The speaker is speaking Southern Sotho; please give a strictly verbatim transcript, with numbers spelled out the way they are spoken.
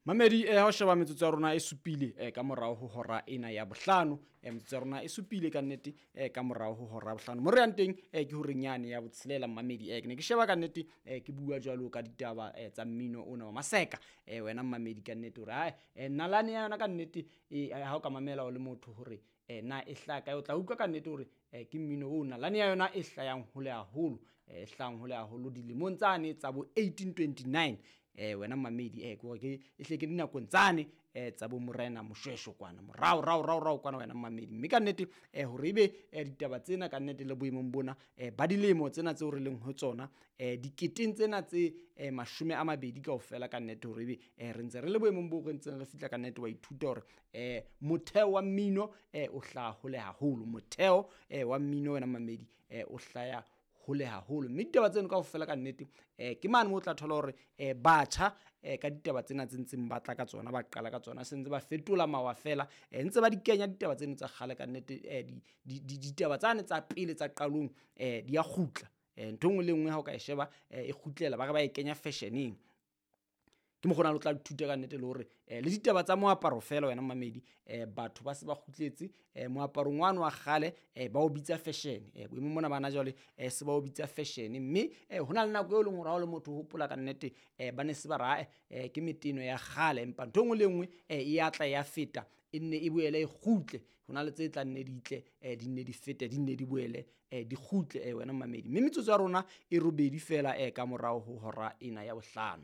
Mamedi, eh ha o sheba metsotso ya rona e supile eh ka morao ho hora ena ya bohlano. eh Metsotso ya rona e supile ka nnete eh ka morao ho hora ya bohlano. Mo re yang teng eh ke horeng yane ya botshelela, mamedi. eh Ke ne ke sheba ka nnete, eh ke bua jwalo ka ditaba eh tsa mmino ona wa maseka. eh Wena mamedi, ka nnete hore hai eh nalane ya yona ka nnete, eh ha o ka mamela o le motho hore eh na e hlaka kae, o tla utlwa ka nnete hore eh ke mmino o nalane ya yona e hlayang hole haholo, eh e hlayang hole haholo dilemong tsane tsa bo eighteen twenty-nine. eh Wena mamedi, eh ke hore ke e hle ke dinakong tsane eh tsa bo morena Moshweshwe kwana morao rao rao rao kwana, wena mamedi. Mme ka nnete eh hore ebe eh ditaba tsena ka nnete le boemong bona eh ba dilemo tsena tseo re leng ho tsona, eh diketeng tsena tse eh mashome a mabedi kaofela, ka nnete hore ebe eh re ntse re le boemong bo re ntseng re fihla, ka nnete wa ithuta hore eh motheo wa mmino eh o hlaha hole haholo. Motheo eh wa mmino, wena mamedi, eh o hlaya hole haholo. Mme ditaba tseno kaofela ka nnete eh ke mane moo o tla thola hore eh batjha eh ka ditaba tsena tse ntseng ba tla ka tsona, ba qala ka tsona, se ntse ba fetola mawa fela, eh ntse ba di kenya ditaba tseno tsa kgale ka nnete. eh di ditaba tsane tsa pele tsa qalong eh di a kgutla. eh Ntho e nngwe le nngwe ha o ka e sheba eh e kgutlela, ba re ba e kenya fashioneng. Ke mokgona le tla ithuta ka nnete le hore eh le ditaba tsa moaparo fela, wena mamedi, eh batho ba se ba kgutletse eh moaparong wane wa kgale, eh ba o bitsa fashion. eh Boemong mona bana jwale eh se ba o bitsa fashion. Mme eh hona le nako eo leng hore ha o le motho o hopola ka nnete, eh ba ne se ba ra eh ke meteno ya kgale, empa ntho e nngwe le nngwe eh e atla ya feta, e nne e boele e kgutle. Hona le tse tla nne di tle, eh di nne di fete, di nne di boele eh di kgutle, eh wena mamedi. Mme metsotso ya rona e robedi fela eh ka morao ho hora ena ya bohlano.